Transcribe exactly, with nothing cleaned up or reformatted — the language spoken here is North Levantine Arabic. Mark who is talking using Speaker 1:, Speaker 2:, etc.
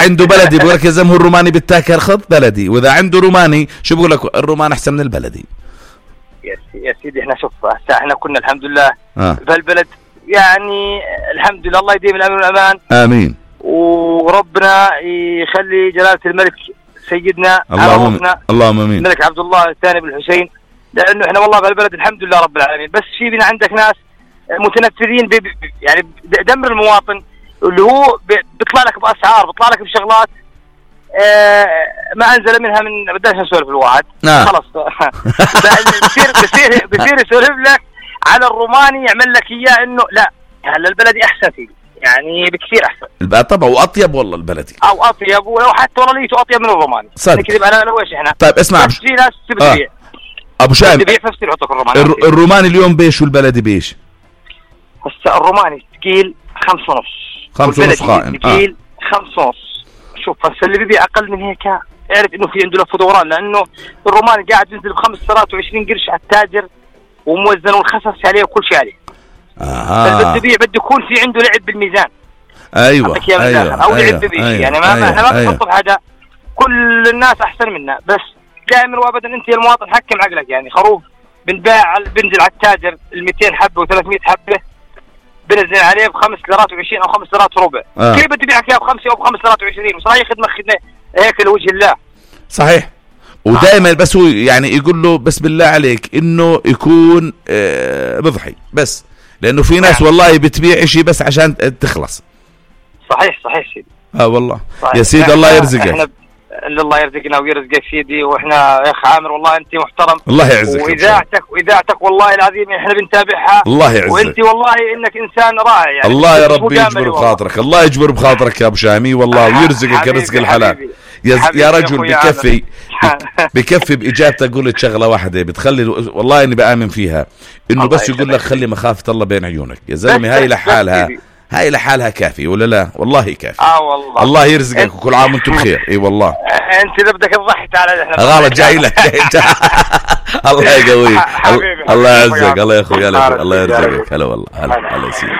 Speaker 1: عنده بلدي بقول لك يا زلمه الروماني بتاكل خذ بلدي، واذا عنده روماني شو بقول لك الرومان احسن من البلدي.
Speaker 2: يا سيدي احنا شوف هسه احنا كنا الحمد لله
Speaker 1: آه.
Speaker 2: بهالبلد يعني الحمد لله، الله يديم الامن والامان.
Speaker 1: امين.
Speaker 2: وربنا يخلي جلاله الملك سيدنا
Speaker 1: اللهم اللهم امين
Speaker 2: الملك عبد الله الثاني بن الحسين، لانه احنا والله بهالبلد الحمد لله رب العالمين. بس في بنا عندك ناس متنفذين ب... يعني دمر المواطن، اللي هو بيطلع لك باسعار، بيطلع لك بشغلات آه ما انزل منها من بداش نسولف الواحد
Speaker 1: آه.
Speaker 2: خلص بصير بصير بصير يسولف لك على الروماني، يعمل لك اياه انه لا هلا البلدي احسن فيه يعني بكثير احسن
Speaker 1: طبعا، واطيب والله البلدي
Speaker 2: او اطيب، ولو حتى والله ليته اطيب من الروماني نكذب انا لو ايش احنا.
Speaker 1: طيب اسمع
Speaker 2: في ناس تبيع آه.
Speaker 1: ابو شام
Speaker 2: تبيع فستير يحطك الروماني.
Speaker 1: الر... الروماني اليوم بيش والبلدي بيش؟
Speaker 2: هسه الروماني ثقيل خمس ونص،
Speaker 1: خمس ونص قائم
Speaker 2: ثقيل آه. خمس ونص. شوف هسه اللي بيبيع اقل من هيك اعرف انه في عنده لف ودوران، لانه الروماني قاعد ينزل بخمس سرات وعشرين قرش على التاجر وموزن والخسس عليه وكل شيء عليه.
Speaker 1: اه
Speaker 2: بده يبيع بده يكون في عنده لعب بالميزان.
Speaker 1: ايوه
Speaker 2: ايوه او
Speaker 1: أيوة.
Speaker 2: لعب بشيء
Speaker 1: أيوة.
Speaker 2: يعني ما
Speaker 1: أيوة.
Speaker 2: احنا ما
Speaker 1: أيوة.
Speaker 2: بنحط بحاجه، كل الناس احسن منا، بس دائما وابدا انت يا المواطن حكم عقلك. يعني خروف بنباع بنزل على التاجر ال مئتين حبه وثلاثمئة حبه بنزل عليه بخمس ليرات وعشرين او خمس ليرات وربع. آه. كيف بده يبيعك اياه بخمسه او بخمس ليرات وعشرين؟ وصراحه خدمه خدمه هيك لوجه الله.
Speaker 1: صحيح. ودائما بس هو يعني يقول له بس بالله عليك انه يكون آه بضحي بس، لانه في ناس والله بتبيع اشي بس عشان تخلص.
Speaker 2: صحيح صحيح سيدي.
Speaker 1: اه والله صحيح. يا سيدي الله يرزقك.
Speaker 2: الله يرزقنا ويرزقك سيدي، واحنا يا اخ عامر والله انت محترم،
Speaker 1: الله يعزك،
Speaker 2: واذاعتك واذاعتك والله العظيم احنا بنتابعها،
Speaker 1: الله يعزك،
Speaker 2: وانت والله انك انسان رائع يعني.
Speaker 1: الله يا رب يجبر بخاطرك، الله يجبر بخاطرك يا ابو شامي والله، ويرزقك رزق الحلال يا, يا رجل. بكفي بكفي باجابتك قلت شغله واحده بتخلي والله اني بآمن فيها، انه بس يقول لك خلي مخافه الله بين عيونك يا زلمه. هاي لحالها هاي لحالها كافي ولا لا؟ والله كافي.
Speaker 2: اه والله
Speaker 1: الله يرزقك وكل عام وانتم بخير. اي والله
Speaker 2: انت اذا بدك تضحك على احنا
Speaker 1: غلط جاي لك الله يقويك، الله يعزك، الله يا اخوي، الله يرزقك. هلا والله، هلا هلا يا سيدي.